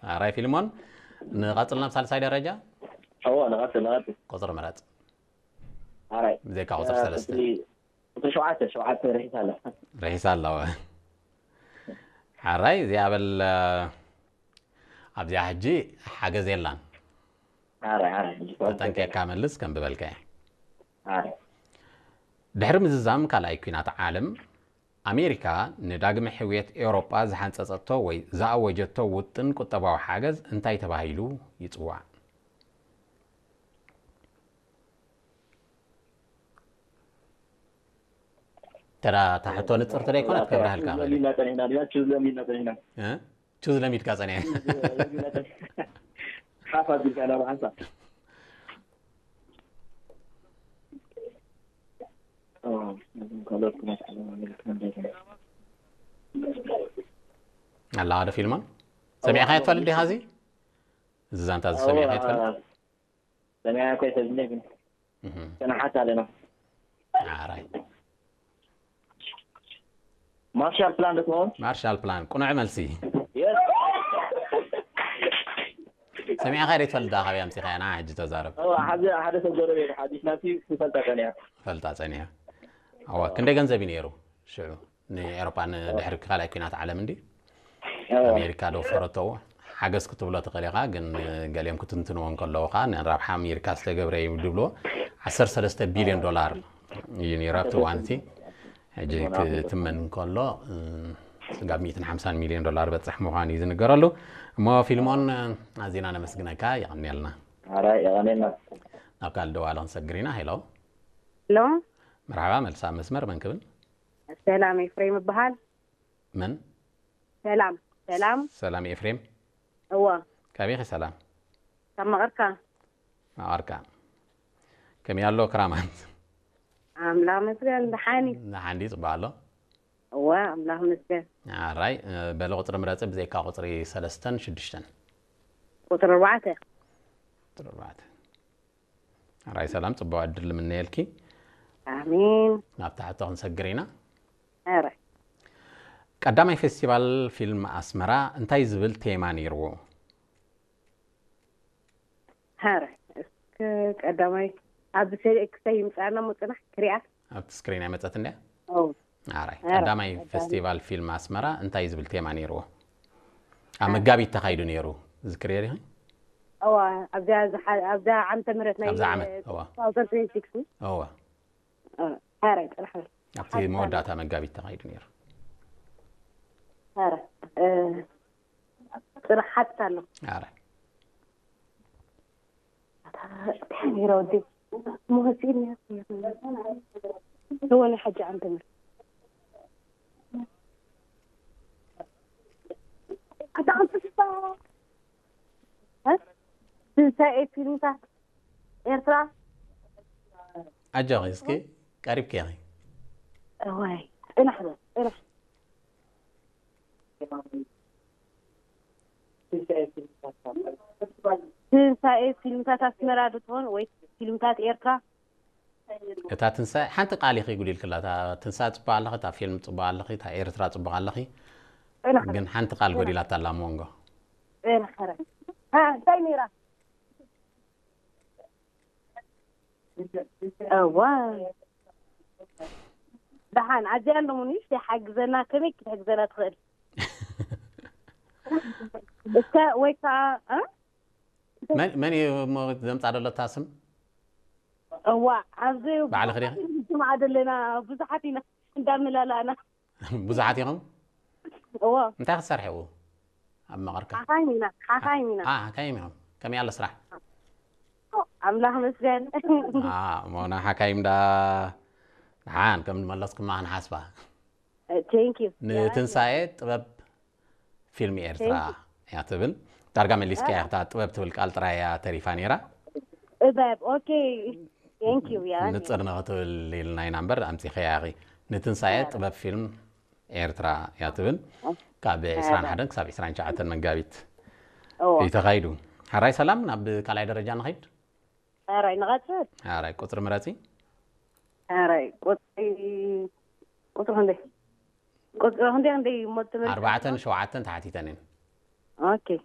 ኣራይ ፊልሞን፣ ንቐጽል ናብ ሳልሳይ ደረጃ። እዎ ንቐጽል ንቐጽል። ቁጽሪ ምረጽ። ኣራይ ብዘይካ ቁጽሪ ሰለስተ። ቁጽሪ ቁጽሪ ሸውዓተ ሸውዓተ ርሒሳ ኣላ። ርሒሳ ኣለዋ። ሓራይ እዚኣ በል። ኣብዚኣ ሕጂ ሓገዝ የላን። ኣራይ ኣራይ ሕጂ ተጠንቂቕካ መልስ ከም ዝበልካዮ። ኣራይ ድሕሪ ምዝዛም ካልኣይ ኲናት ዓለም ኣሜሪካ ንዳግመ ሕውየት ኤውሮጳ ዝሓንጸጸቶ ወይ ዝኣወጀቶ ውጥን ቁጠባዊ ሓገዝ እንታይ ተባሂሉ ይጽዋዕ? ተራ ታሕቶ ንጽርቲ ደይኮነት ከብርሃልካ ኽእል። ለሚና ጸኒሕና ዲና ችዝ ለሚና ጸኒሕና እ? ቹዝ ለሚድካ ጸኒሐ። ሓፍ ኣቢልካ ናብ ሓንሳ ኣላ ሓደ ፊልሞን ሰሚዕካ የትፈልጥ ዲኻ? እዚ እዚ ዛንታ እዚ ሰሚዕካ የትፈልጥ? ሰሚዓ ኮይተ ዝነ ግን እህ፣ ሰናሓት ኣለና ኣራይ ማርሻል ፕላን ዶ ትኸውን ማርሻል ፕላን ቁኑዕ መልሲ። የስ ሰሚዕካ ዶ ትፈልጥ? ካበይ ኣምጺኻ ኢና ሕጂ ተዛረብ። ሓደ ሓደ ሰብ ጎረቤት ሓዲስ ናብቲ ክፈልጣ ቀኒያ ፈልጣ ጸኒሐ። ኣዋ ክንደይ ገንዘብ እዩ ነይሩ ሽዑ ንኤሮፓ ንድሕሪ ካልኣይ ኲናት ዓለም እንዲ ኣሜሪካ ዶ ፈረተዎ ሓገዝ ክትብሎ ትኽእል ኢኻ፣ ግን ገሊኦም ክትንትንዎ እንከለዉ ኸዓ ንራብሓ ኣሜሪካ ዝተገብረ እዩ ድብልዎ። ዓሰርተ ሰለስተ ቢልዮን ዶላር እዩ ነይሩ ኣብቲ እዋን እቲ። ሕጂ ክትመን እንከሎ ስጋብ ሚእትን ሓምሳን ሚልዮን ዶላር በፅሕ ምዃኑ እዩ ዝንገረሉ። እሞ ፊልሞን ኣዚና ነመስግነካ፣ የቐንየልና። ኣራይ የቐኔና ናብ ካልእ ደዋሊ ክንሰግር ኢና። ሄሎ ሎ መርሓባ፣ መልሳ መስመር መን ክብል? ሰላም ኤፍሬም ይበሃል። መን? ሰላም ሰላም። ሰላም ኤፍሬም። እዋ ካበይ ኢኺ ሰላም? ካብ መቐርካ። መቐርካ። ከመይ ኣሎ ክራማት? ኣምላኽ መስገን ደሓኒ። ንሓንዲ ጽቡቕ ኣሎ። እዋ ኣምላኽ መስገን። ኣራይ በሊ ቁፅሪ ምረፂ ብዘይካ ቁፅሪ ሰለስተን ሽዱሽተን። ቁፅሪ ኣርባዕተ። ቁፅሪ ኣርባዕተ። ኣራይ ሰላም፣ ጽቡቕ ዕድል ንምነየልኪ። ኣሜን። ናብ ታሕቶ ክንሰግር ኢና። ኣረ ቀዳማይ ፌስቲቫል ፊልም ኣስመራ እንታይ ዝብል ቴማ ነይርዎ? ኣረ እስከ ቀዳማይ ኣብዚ ሰ- ክሳይ ይምፃና ምፅናሕ ክሪኣ። ኣብቲ ስክሪን ኣይመፀት እንድያ። ኦ ኣራይ ቀዳማይ ፌስቲቫል ፊልም ኣስመራ እንታይ ዝብል ቴማ ነይርዎ? ኣብ መጋቢት ተኻይዱ ነይሩ። ዝክርዮ ዲኺ? እዋ ኣብዛ ዝሓ- ኣብዛ ዓመተ ምህረት ናይ ኣብዛ ዓመት፣ እዋ። two thousand twenty-six። እዋ። ኣረ ጥራሕ ኣብቲ መወዳእታ መጋቢት ተኻይዱ ነይሩ። ኣረ እ፣ ጥራሕ ሓትት ኣሎ። ኣረ እንታይ ነይረ ወዲ? መወፂእኒ። እወ ናይ ሓጂ ዓመተ ምህረት። ኣታ ኣንስሳ። እ? ትንሳኤ ፊልምታት ኤርትራ። ኣጆኺ እስኪ ቀሪብኪ ኢኺ። እዋይ፣ ጽናሕ በል፣ ጽናሕ። ትንሳኤ ፊልምታት ኣስመራ ዶ ትኾን ወይ ፊልምታት ኤርትራ? እታ ትንሳኤ ሓንቲ ቃል ኢኺ ጉዲልክላ። እታ ትንሳኤ ጽቡቕ ኣለኺ፣ እታ ፊልም ጽቡቕ ኣለኺ፣ እታ ኤርትራ ጽቡቕ ኣለኺ። ጽናሕ። ግን ሓንቲ ቃል ጎዲላታ ኣላ ኣብ መንጎ። ጽናሕ፣ ኧረ። እ፣ እንታይ ነይራ? እዋ። ደሓን፣ ኣዚኣ ኣለሙ ንእሽተይ ሓግዘና፣ ከመይ ክትሕግዘና ትኽእል? እስከ ወይ ከዓ፣ እ? መን መን እዩ እሞ ዘምጻ ዘሎ እታ ስም? እዋ፣ ኣብዚ ባዕልኺ ዲኺ? ብዙሓት ኢና፣ ብዙሓት ኢና እንዳመላላእና። ብዙሓት ኢኹም? እዎ። እንታይ ክትሰርሕዎ ኣብ መቐርካ? ሓኻይም ኢና፣ ሓኻይም ኢና። ኣ፣ ሓካይም ኢኹም። ከመይ ኣሎ ስራሕ? ኣምላኽ መስገን። ኣ፣ እሞ ንሓካይም ዳ ደሓን ከም ንመለስኩማ ክንሓስባ። Thank you። ንትንሳኤ ጥበብ ፊልም ኤርትራ እያ ትብል። ዳርጋ መሊስካ እያ፣ እታ ጥበብ ትብል ቃል ጥራይ እያ ተሪፋ ነይራ። ጥበብ፣ okay። Thank you። ያ ንጽር ንኽትብል ኢልና ኢና እምበር ኣምጺኸያ ኢኺ። ንትንሳኤ ጥበብ ፊልም ኤርትራ እያ ትብል። ካብ ዕስራን ሓደን ክሳብ ዕስራን ትሽዓተን መጋቢት እዎ። እዩ ተኻይዱ። ሓራይ ሰላም፣ ናብ ካልኣይ ደረጃ ንኸይድ። ኣራይ ንቐጽል። ሓራይ ቁጽሪ ምረጺ። ኣራይ ቁጽሪ፣ ቁጽሪ ክንደይ? ቁጽሪ ክንደይ፣ ክንደይ እሞ ትምህርቲ? ኣርባዕተን ሸውዓተን ተሓቲተን እየን። Okay።